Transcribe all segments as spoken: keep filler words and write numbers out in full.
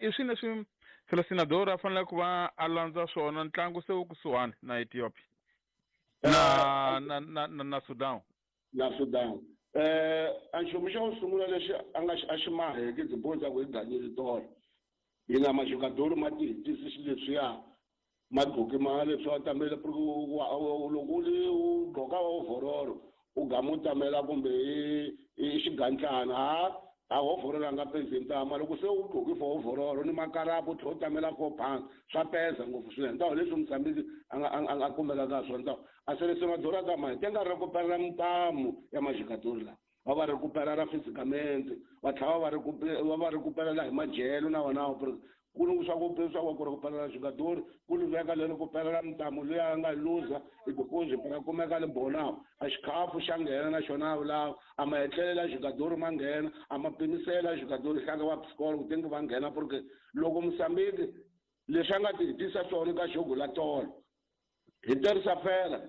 I swini leswi Selecionador a fanele ku va a landza swona ntlangu se wu kusuhani na Ethiopia na na na na, na Sudan? Na Sudan. eh a nchumu xa ku sungula lexi a nga a xi maheke tiboho ta ku hi ganyile tolo hi na majogadori ma ti hetisi xileswiya ma gqoke ma leswi wa tamela loko u ri u gqoka ovhorolo u gama u tamela kumbe i xigantlana ha a hovhorolo a nga pezi ntama loko se u gqoke for ovhorolo ni makarapu u tlhela u tamela four pounds swa peza ngopfu swinene ntawo leswi Mozambique a nga a nga kumeka ka swona ntawo a selecionador a ta ma te nga recuperar mintamu ya majogadori lawa va va recuperar physicamente va tlhela va va va recuperela hi madyelo na wona ku ni swa ku swa ku recuperar jogador ku ni veka leri recuperar mintamu leyi a nga luza i because va kumeka le bonawu a xikhafu xa nghena na xona lawa a ma etlelela jogador ma nghena a ma pimisela jogador hlanga va psikolo ku tenge va nghena porque loko Mozambique leswi a nga ti hetisa swona ka jogo la tolo hi terisa fela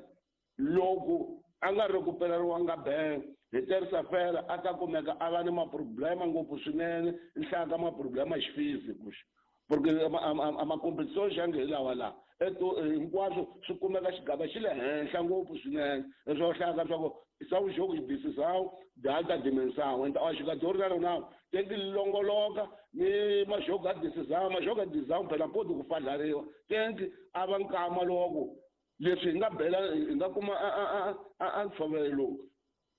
loko a nga recupereriwanga ben hi terisa fela a ta kumeka a va ni maproblema ngopfu swinene nhlaya ka maproblema xifiziko porque a ma-competition xa nge hi lawa laha eto hinkwaswo swi kumeka xigava xi le henhla ngopfu swinene leswi hlayaka swa ku são jogos de decisão de alta dimensão então a jogador na rona tem que longoloka ni majogo a decisão majogo a decisão phela pode ku fadlariwa tem que a va nkama loko leswi hi nga bela hi nga kuma a ntshovelo lowu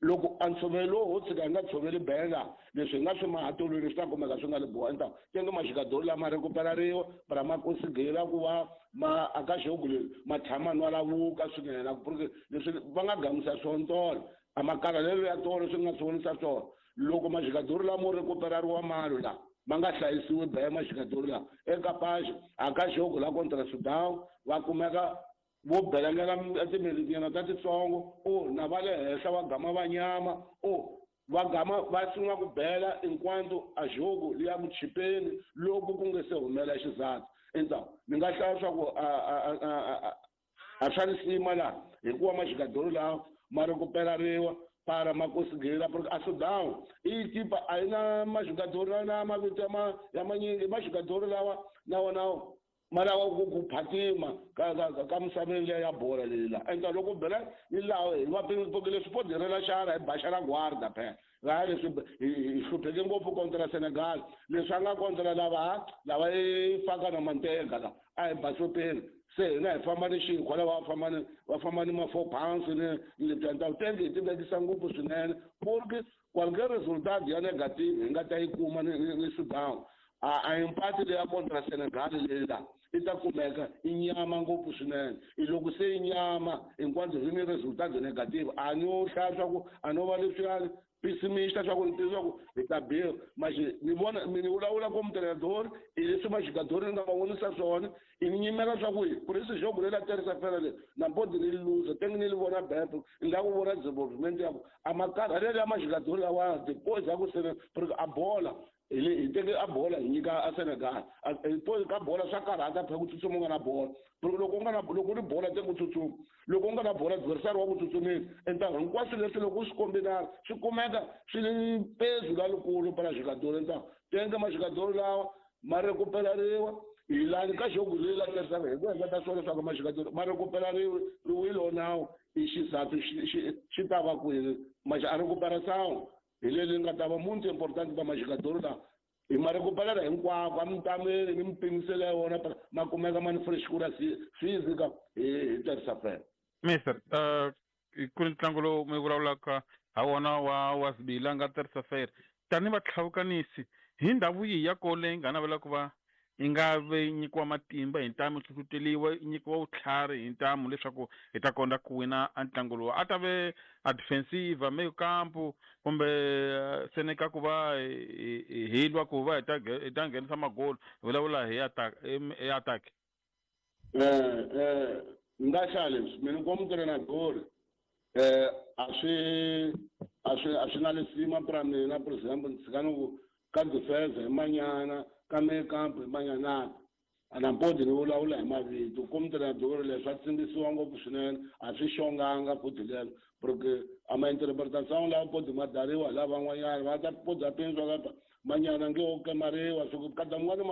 loko a ntshovelo lowu ho tshika hi nga tshoveli bela leswi hi nga swi mahatolweni swi ta kumeka swi nga le boha nta tenge majogadori lama recuperariwa para ma consigira ku va ma aka jogo leri ma tshama nwalavuka swinene porque leswi va nga gamisa swona tolo a makarhalelo ya tolo swi nga swi vonisa swona loko majogadori lamo recuperariwa mali la ma nga hlayisiwi bela majogadori lawa eka paxi aka jogo la contra Sudan va kumeka vo belangela timelitinyana ta titsongo o na va le henhla va gama va nyama o va gama va sungula ku bela enquanto a jogo liya ku chipeni loko ku nge se humela xizathu endzhaku ni nga hlaya swa ku a a swa risima laha hikuva majogadori lawa ma recuperariwa para ma consigira porque a Sudan i tipa a yi na majogadori na mavito ya ma ya manyingi majogadori lawa na wona ma lava ku ku phatima ka ka ka misaveni leyi ya bola leyi la enta loko bela ni laha hi va porque leswi po direla xana hi baxa la guarda phela laha leswi hi hlupheke ngopfu kontra Senegal leswi a nga kontra lava lava i faka na manteka la a hi basopeni se hina hi famba ni xinkwa lava va famba ni va famba ni ma four pounds ni lebyi nta tenge hi ti vekisa ngopfu swinene porque qualquer resultado ya negative hi nga ta yi kuma ni ni Sudan a a empate leya kontra Senegal leyi la i ta kumeka i nyama ngopfu swinene i loko se i nyama hinkwaswo hi ni resultado negative a no hlaya swa ku a no va leswiyani pessimista swa ku ni tiva ku hi ta biwa maxi ni vona mi ni vulavula ko mutreinador i leswi majogadori ni nga va vonisa swona i ni nyimela swa ku ku ri jogo leri a terisa fela leri nampodi ni luza tenge ni li vona bepo ni la ku vona development ya ku a makarhalelo ya majogadori lawa depois ya ku sele porque a bola hi teke a bola hi nyika a Senegal ka bola swa karhata phela ku tsutsuma u nga na bola porque loko u nga na loko u ri bola te ku tsutsuma loko u nga na bola adversary wa ku tsutsumisa entangu hinkwaswo leswi loko u swi kombinana swi kumeka swi ri pezu lalikulu para jogadori entangu tenge majogadori lawa ma recuperariwa hi lani ka jogo leyi la tirhisaka hi ku endla swona leswaku majogadori ma recuperariwe riwilo nawu i xizathu xi xi ta va kwini a recuperação hi leri nga ta va muito importante pa majogadori lawa hi ma recuperela hinkwako a mitameni ni mipimiselo ya wona ma kumeka ma ni freshkura física hi hi tirhisa fela mister uh, ku ri ntlangu lowu mi vulavulaka ha wona wa wa Zibila nga tirhisa fela tani vatlhavukanisi hi ndhawu yihi ya kona leyi nga navela ku va yi nga ve nyikiwa matimba hi ntamu hlohloteriwa yi nyikiwa vutlhari hi ntamu leswaku hi ta kota ku wina a ntlangu lowu a ta ve a defensive me kampo kumbe seneka ku va hi lwa ku va hi ta hi ta nghenisa magoli hi vulavula hi attack hi attack eh eh nga hlaya leswi mina como treinador eh a swi a swi a swi na lisima pra mina por exemplo ni tshika ni ku ka defense hi manyana ka me kampo hi manyana a na podi ni vulavula hi mavito como treinador leswi a tsimbisiwa ngopfu swinene a swi xonganga futhi lelo porque a ma interpretação lawa podi ma dariwa hi lavan'wanyana va ta podi a pindzwa kapa manyana nge wo kemariwa swi ku kada mun'wana ma